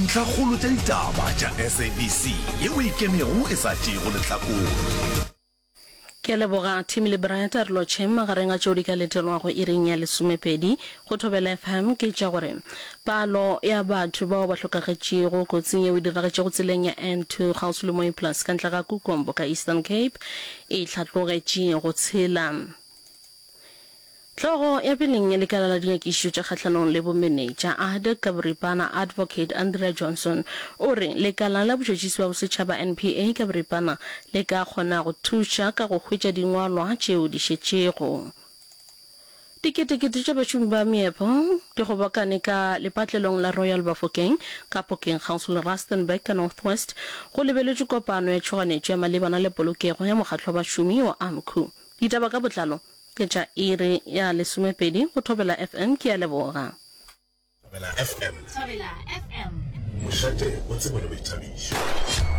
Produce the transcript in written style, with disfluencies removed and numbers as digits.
Ntlhakgolo tša ditaba tša SABC yeo e ikemego e sa tšeego lehlakore. Ke a leboga Tim le Brad a re lotšheng magareng a tšeo di ka letelwago iring ya lesomepedi go Thobela FM ke tša gore palo ya batho bao ba hlokagetšego kotsing yeo e diragetšego tseleng ya N2 kgauswi le Mooiplaas ka ntle ga Kukombo ka Eastern Cape e hlatlogetše go tshela. Hlogo ya peleng ya lekala la dinyakišišo tša kgahlanong le bomenetša, ADC ka boripana, Advocate Andrea Johnson, o re lekala la botšhotšhisi bja bosetšhaba, NPA ka boripana, le ka kgona go thuša ka go hwetša dingwalwa tšeo di šetšego. Diketekete tša bašomi ba meepo di kgobokane ka lepatlelong la Royal Bafokeng ka Phokeng kgauswi le Rustenburg ka North West go lebeletšwe kopano ya tšhoganetšo ya malebana le polokego ya mokgatlo wa bašomi wa AMCU. Ditaba ka botlalo ke tša iri ya lesomepedi go Thobela FM. Ke a leboga. Thobela FM. Thobela FM. Mošate wa tsebo le boithabišo.